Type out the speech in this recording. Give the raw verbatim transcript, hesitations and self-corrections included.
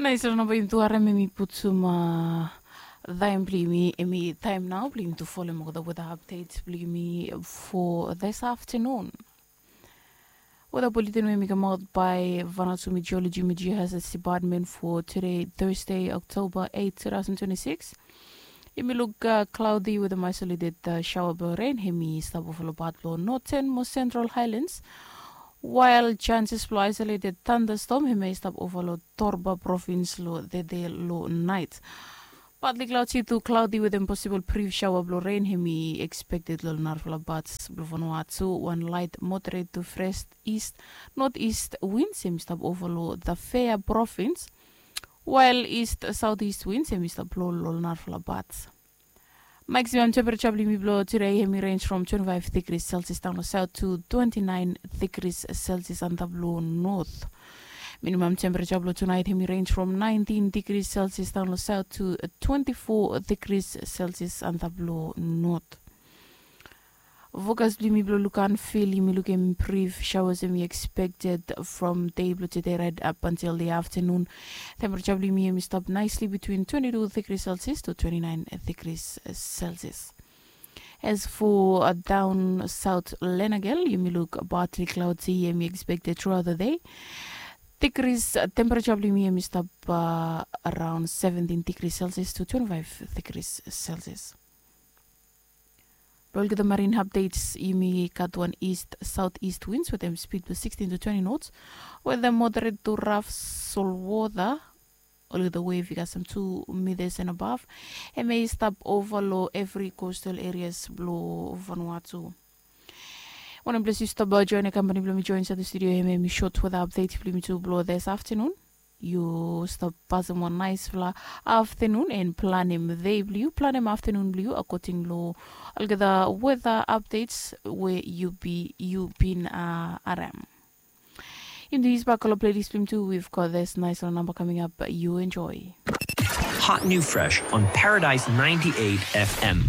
Nais long namba yumi tu harim em i putum taem blong yumi, em i taem nao blong yumi tu folem olgeta weta apdet blong yumi fo this aftenun. Weta buleten we em i kamaot bae Vanuatu Meteorology Meteohazards Department fo tude, Thursday, October eight, two thousand twenty-six. Yumi luk klaodi wetem aisoleted saoa blong ren hem i stap ova long pat blong noten mo sentral haelands, wael janses blong aisoleted tandastom hem i stap ova long Torba provins long tede long naet. Patli klaodi tu klaodi wetem posibol brif saoa blong ren hem i ekspekted long narafala pats blong Vanuatu. Wan laet moderet tu fres ist noteast wins hem i stap ova long Tafea provins, wael ist saoteast wins hem i stap blo long narafala pats. Maksimam tempereja blong yumi blong tude hem i renj from twenti faef degris selsias daon long saot tu twenti naen degris selsias antap long not. Minimam tempereja blong tunaet hem i renj from naentin degris selsias daon long saot tu twenti fo degris selsias antap long not. Fokas blong yumi blong luk anfil yumi lukim brif saoas hem i ekspekted from dei blong tude raet ap antil de aftenun. Tempereja blong yumi hem i stap naesli bitwin twenti tu degris selsias tu twenti naen degris selsias. As fo daon saot lenagel yumi luk patli klaodi hem i ekspekted truaot de. Degris tempereja blong yumi hem i stap araon seventin degris selsias tu twenti faef degris selsias. Blong olgeta marin apdets yumi gat wan ist saoteast wins wetem spid blong sikstin tu twenti nots, wetem moderet tu raf solwota. Olgeta wev i kasem tu mitas en abav, hem i stap ova long evri kostal erias blong Vanuatu. Wanem ples yu stap joen ya kampani blong mi joen insait long studio hem hem i sot weta apdet blong yumi tu blong this aftenun. Yu stap pasem wan naesfala aftenun en planem dei blong yu, planem aftenun blong yu akoding long olgeta weta apdets we yu bin harem. Yumi tu yusbak ol plelis blong yumi tu. We've got this nice little number coming up. You enjoy. Hot new fresh on Paradise ninety-eight F M.